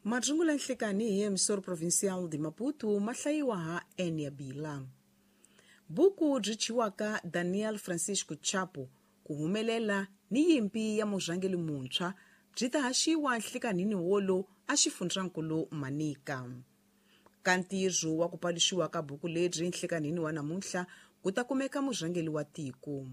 Marungula nhlikani hi emissora provincial de Maputo ma hlayiwa ha Enia Bila. Buku byi chiwaka Daniel Francisco Chapo ku humelela ni yimpi ya murhangeri muntshwa byi ta haxiwa nhlikanhini wolo a xifundzankulu Manica. Ka ntirho wa ku paluxiwa ka buku lebyi nhlikanhini wa namuntlha ku ta kumeka murhangeri wa tiko.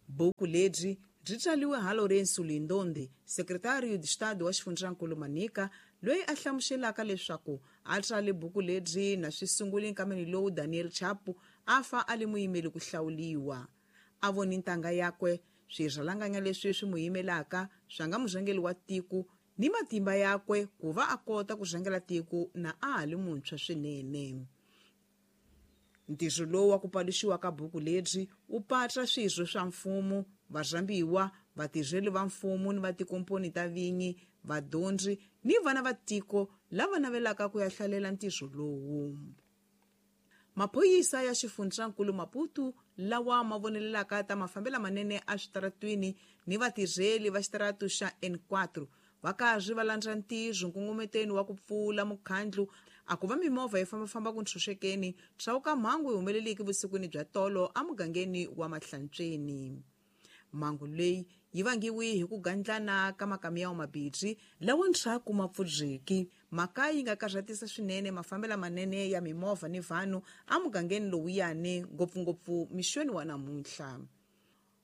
Buku lebyi byi tsariwe ha Lourenço Lindonde, Secretário de Estado wa xifundzankulu Manica, loyi a hlamuselaka leswaku a tsale buku lebyi na swi sunguli nkameni lowu Daniel Chapo a fa a li muyimeli ku hlawuliwa. A voni ntanga yakwe, swirhalanganya leswi swi mu yimelaka swa nga murhangeri wa tiko ni matimba yakwe ku va a kota ku rhangela tiko na a ha li muntshwa swinene. Ntirho lowu wa ku paluxiwa ka buku lebyi wu patla swirho swa mfumo, varhambiwa, vatirheli va mfumo ni va tikomponi ta vinyi, vadyondzi ni vana va tiko lava navelaka ku ya hlalela ntirho lowu. Maphorisa ya xifundzankulu Maputo lawa ma vonelelaka ta mafambelo manene eswitaratwini ni vatirheli va xitaratu xa N4 va karhi va landza ntirho nkongometweni wa ku pfula mukhandlu a ku va mimovha yi fambafamba ku ntshunxekeni swa mhangu yi humeleliki vusikwini bya tolo emugangeni wa Mahlantsweni. Mhangu leyi yi vangiwi hi ku gandlana ka makamiyawu mabirhi lawa ndzhaku ma pfudzeki. Mhaka yi nga karhatisa swinene mafambelo manene ya mimovha ni vanhu emugangeni lowuyani, ngopfungopfu mixweni wa namuntlha.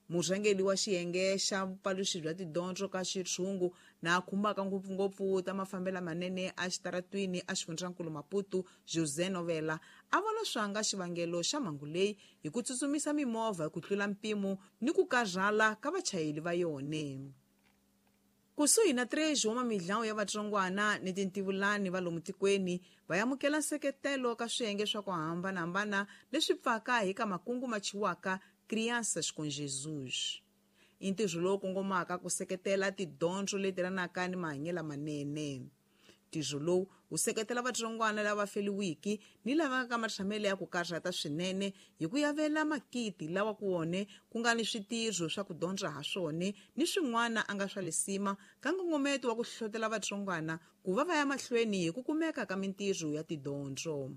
Murhangeri wa xiyenge xa vupaluxi bya tidyondzo ka xitshungu na khumbaka ngopfungopfu ta mafambelo manene exitaratwini exifundzankulu Maputo, José Novela, a vona swanga xivangelo xa mhangu leyi hi ku tsutsumisa mimovha hi ku tlula mpimo ni ku karhala ka vachayeri va yona. Kusuhi na 3 wa mamidlawu ya vatsongwana ni tintivulani va lomu tikweni va amukela nseketelo ka swiyenge swa ku hambanahambana leswi pfaka hi ka makungu ma chiwaka Crianças com Jesus. I ntirho lowu kongomaka ku seketela tidyondzo leti ranaka ni mahanyelo manene. Ntirho lowu wu seketela vatsongwana lava feliwiki ni lava nga ka matshamelo ya ku karhata swinene hi ku yavela makiti lawa ku wone ku nga ni switirho swa ku dyondza ha swona ni swin'wana a nga swa lisima ka nkongometo wa ku hlohlotela vatsongwana ku va va ya mahlweni hi ku kumeka ka mintirho ya tidyondzo.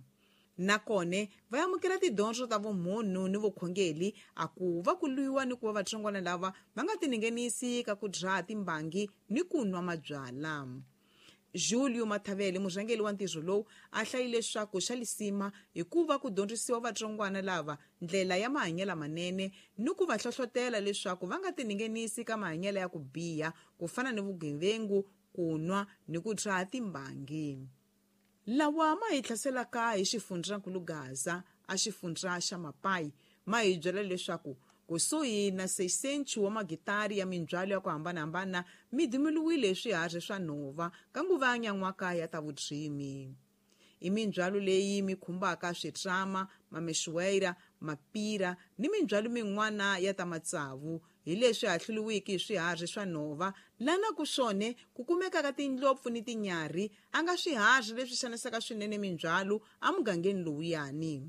Nakona va amukela tidyondzo ta vumunhu ni vukhongeri a ku va ku lwiwa ni ku va vatsongwana lava va nga tinghenisi ka ku dzaha timbangi ni ku nwa mabyala. Julio Mathavele, murhangeri wa ntirho lowu, a hlayile leswaku xa lisima hikuva ku dyondzisiwa vatsongwana lava ndlela ya mahanyelo manene ni ku va hlohlotela leswaku va nga tinghenisi ka mahanyelo ya ku biha ku fana ni vugevengu, ku nwa ni ku dzaha timbangi. Lawa ma hi hlaselaka hi xifundzankulu Gaza a xifundza xa Mapai ma hi byela leswaku kusuhi na 600 wa magitari ya mindzhwalo ya ku hambanahambana mi dimuluwile swiharhi swa nhova ka nguva ya nyan'waka ya ta vurimi. I mindzhwalo leyi mi khumbaka switrama, mamexuwera, mapira ni mindzhwalo min'wana ya ta matsavu hi leswi hahluriwiki hi swiharhi swa nhova lana ku swone ku kumekaka tindlopfu ni tinyarhi a nga swiharhi leswi xanisaka swinene mindzhwalo emugangeni lowuyani.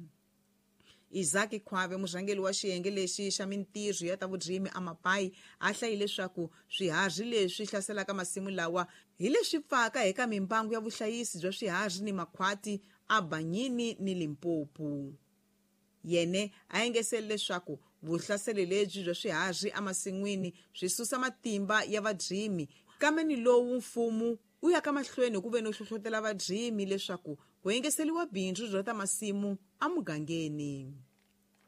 Isaac Khwave, murhangeri wa xiyenge lexi xa mintirho ya ta vurimi eMapai, a hlayile leswaku swiharhi leswi hlaselaka masimu lawa hi leswi pfaka eka mimbangu ya vuhlayisi bya swiharhi ni makhwati eBanyini ni Limpopo. Yene a engesele leswaku vuhlaseli lebyi bya swiharhi emasin'wini swi susa matimba ya vadyimi, kambe ni lowu mfumo wu ya ka mahlweni ku ve no hlohlotela vadyimi leswaku ku engeseriwa bindzu bya ta masimu emugangeni.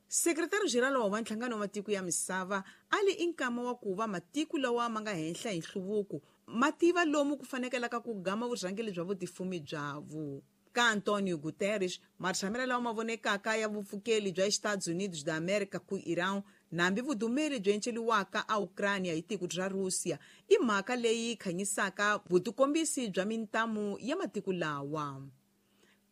Sekretari General wa Nhlangano wa Matiko ya Misava a li i nkama wa ku va matiko lawa ma nga henhla hi nhluvuko ma tiva lomu ku fanekelaka ku gama vurhangeri bya vutifumi byavu. Ka Antonio Guterres, matshamelo lawa ma vonekaka ya vupfukeli bya Estados Unidos da América ku Iran nambi vudumeli byi enceliwaka a Ukraine hi tiko ra Russia i mhaka leyi khanyisaka vutikombisi bya mintamu ya matiko lawa.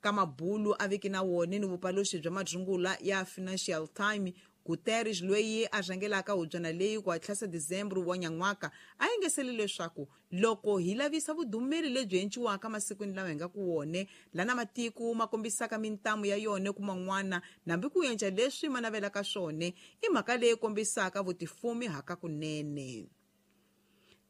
Ka mabulu a viki na wona ni vupaluxi bya madzungula ya Financial Times, Guterres loyi a rhangelaka hubyana leyi ku hatlisa December wa nyan'waka a engesele leswaku loko hi lavisa vudumeli lebyi enciwaka masikwini lawa hi nga ku wone lana matiko ma kombisaka mintamu ya yona ku man'wana nambi ku endla leswi ma navelaka swona i mhaka leyi kombisaka vutifumi hakakunene.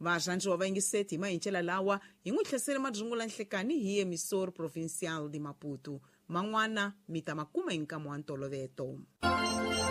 Varhandziwa va yingiseti hi mahincela lawa hi n'wi tlhesele madzungula nhlekani hi emissor provincial de Maputo. Man'wana mi ta ma kuma hi nkama wa ntoloveto.